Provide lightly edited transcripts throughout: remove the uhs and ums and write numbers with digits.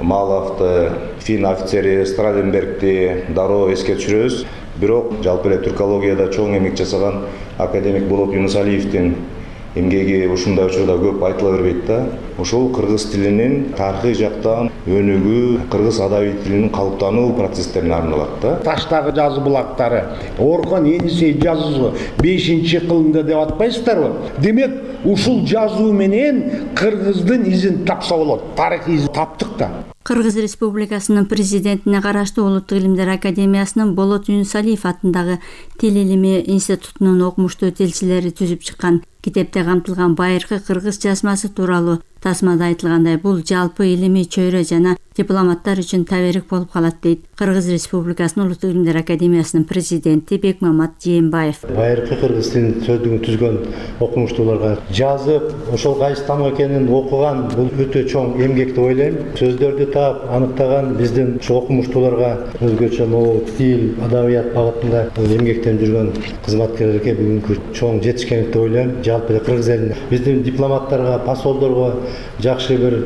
Маловду, фин офицери Страленбергди дароо эске түшүрөбүз. Бирок жалпы эле түркологияда чоң эмгек жасаган академик Болот Юнусалиевдин эмгеги ушундай учурда көп айтыла бербейт да. Ошол кыргыз тилинин тарыхый жактан өнүгүү, кыргыз адабий тилинин калыптануу процесстерине арналат да. Таштагы жазуу булактары, Орхон Енисей жазуусу 5-кылымда деп атпайсыздарбы? Демек, ушул жазуу менен кыргыздын изин тапса болот. Тарыхый изин таптык да. Кыргыз Республикасынын президентине караштуу Улуттук илимдер академиясынын Болот Юнусалиев атындагы Тил илими институтунун окумуштуу тилчилери түзүп чыккан китепте камтылган байыркы кыргыз жазмасы тууралуу тасмада айтылгандай, бул жалпы илимий чөйрө жана дипломаттар үчүн таберик болуп калат дейт Кыргыз Республикасынын Улуттук илимдер академиясынын президенти Бекмамат Жээнбаев. Байыркы кыргыз тилин сөздүгүн түзгөн окумуштууларга жазып, ошол кайсы там экенин окуган бул өтө чоң эмгек деп ойлойм. Сөздөрдү таап, аныктаган биздин ошо окумуштууларга өзгөчө могу тил, адабият багытында эмгектенип жүргөн кызматкерлерге бүгүнкү чоң жетишкендик деп ойлойм. Жалпы эле кыргыз элине биздин дипломаттарга, посолдорго жакшы бир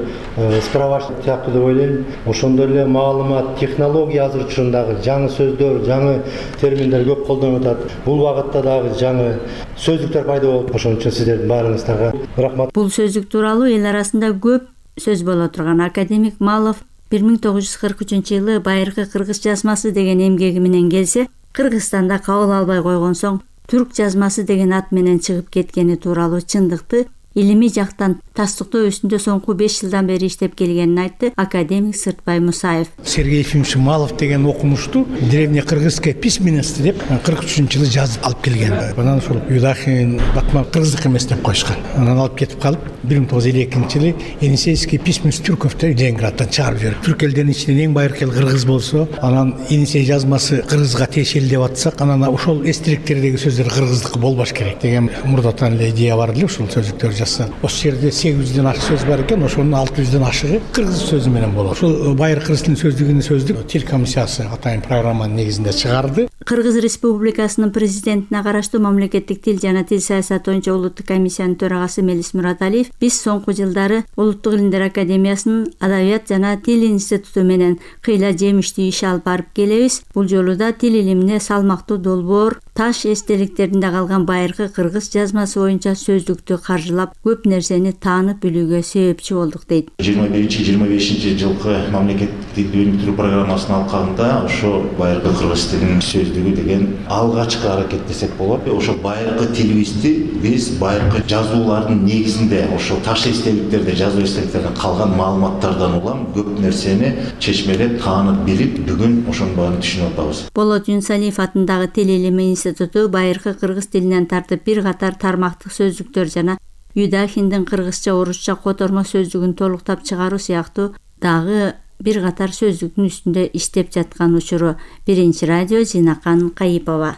справочник сыяктуу деп ойлойм. Ошондой эле маалымат, технология азыр учурундагы жаңы сөздөр, жаңы терминдер көп колдонулуп атат. Бул багытта дагы жаңы сөздүктөр пайда болуп, ошон үчүн сиздердин баарыңыздарга рахмат. Бул сөздүк тууралуу эл арасында көп сөз боло турган академик Малов 1943-жылы байыркы кыргыз жазмасы деген эмгеги менен келсе, Кыргызстанда кабыл албай койгон соң түрк жазмасы деген ат менен чыгып кеткени тууралуу чындыкты илимий жактан тастыктоо үстүндө соңку 5 жылдан бери иштеп келгенин айтты академик Сыртбай Мусаев. Сергей Ефимович Малов деген окумушту древнекыргызская письменность деп 43-жылы жазып алып келген. Анан ошол Юдахин, Батман кыргыздык эмес деп коюшкан. Анан алып кетип калып 1952-жылы Енисейский письменность түрков деп Ленинградтан чыгарып жиберип. Түрк элдеринин ичинен эң байыркы эл кыргыз болсо, анан Енисей жазмасы кыргызга тиешелүү деп атсак, анан ошол эстеликтердеги сөздөр кыргыздыкы болбош керек деген мурдатан эле идея бар эле ушул сөздүктөр. Ошол жерде 800ден ашык сөз бар экен, ошонун 600ден ашыгы кыргыз сөзү менен болот. Ошол байыркы кыргыз тилинин сөздүгүнүн сөздүк тил комиссиясы атайын программанын негизинде чыгарды. Кыргыз Республикасынын президентине караштуу мамлекеттик тил жана тил саясаты боюнча улуттук комиссиянын төрагасы Мелис Мураталиев биз соңку жылдары Улуттук илимдер академиясынын Адабият жана тил институту менен кыйла жемиштүү иш алып барып келебиз. Бул жолу да тил илимине салмактуу долбоор, таш эстеликтеринде калган байыркы кыргыз жазмасы боюнча сөздүктү каржылап көп нерсени таанып билүүгө себепчи болдук дейт. 21-25 жылкы мамлекеттик тил өнүктүрүү программасынын алкагында ошо байыркы кыргыз тилинин сөздүгү деген алгачкы аракет десек болот. Ошо байыркы тилибизди биз байыркы жазуулардын негизинде ошо таш эстеликтерде, жазуу эстеликтеринде калган маалыматтардан улам көп нерсени чечмелеп, таанып билип, бүгүн ошонун баарын түшүнүп атабыз. Болот Юнусалиев атындагы Тил илими институту байыркы кыргыз тилинен тартып бир катар тармактык сөздүктөр жана Юдахиндин кыргызча, орусча котормо сөздүгүн толуктап чыгаруу сыяктуу дагы бир катар сөздүктүн үстүндө иштеп жаткан учуру. Биринчи радио Жинакан Кайыпова.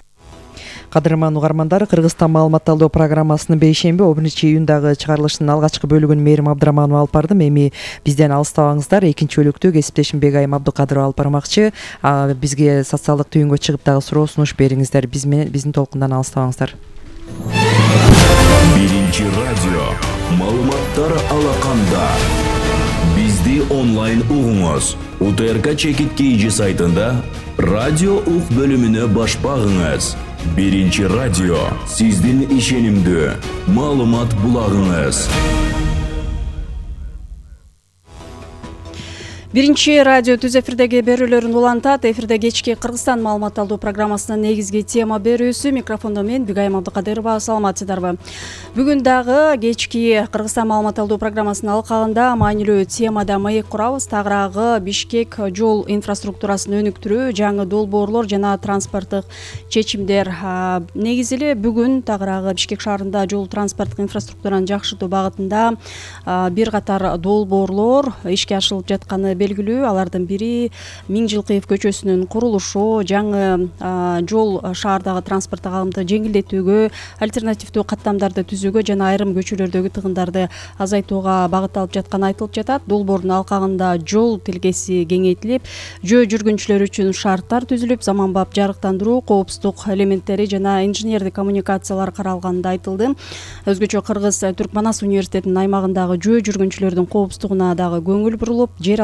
Кадырман угармандар, Кыргызстан маалымат талдоо программасынын бейшемби 1-июндагы чыгарылышынын алгачкы бөлүгүн Мээрим Абдыраманова алып бардым. Эми бизден алыстабаңыздар. Экинчи бөлүктү кесиптешим Бегайым Абдыкадырова алып бармакчы. Бизге социалдык түйүнгө чыгып дагы суроо сунуш бериңиздер. Биздин толкундан алыстабаңыздар. Биринчи радио маалыматтар алаканда. Бизди онлайн угуңуз. УТРК чекит KG сайтында радио ук бөлүмүнө баш багыңыз. Биринчи радио сиздин ишенимдүү маалымат булагыңыз. Биринчи радио түз эфирдеги берүүлөрүн улантат. Эфирде кечки Кыргызстан маалымат алуу программасынын негизги тема берүүсү. Микрофондо мен Бигайым Абдыкадырова. Саламатсыздарбы? Бүгүн дагы кечки Кыргызстан маалымат алуу программасынын алкагында маанилүү темада маек курабыз. Тагыраагы Бишкек жол инфраструктурасын өнүктүрүү, жаңы долбоорлор жана транспорттук чечимдер. Негизи эле бүгүн тагыраагы Бишкек шаарында жол транспорттук инфраструктураны жакшыртуу багытында бир катар долбоорлор ишке ашырылып жатканы белгилүү. Алардын бири Миңжилкыев көчөсүнүн курулушу, жаңы жол шаардагы транспорттук агымды жеңилдетүүгө, альтернативдүү каттамдарды түзүүгө жана айрым көчөлөрдөгү тыгындарды азайтууга багытталып жатканы айтылып жатат. Долбоордун алкагында жол тилкеси кеңейтилип, жөө жүргүнчүлөр үчүн шарттар түзүлүп, заманбап жарыктандыруу, коопсуздук элементтери жана инженердик коммуникациялар каралганы да айтылды. Өзгөчө Кыргыз Түрк Манас университетинин аймагындагы жөө жүргүнчүлөрдүн коопсуздугуна дагы көңүл бурулуп, жер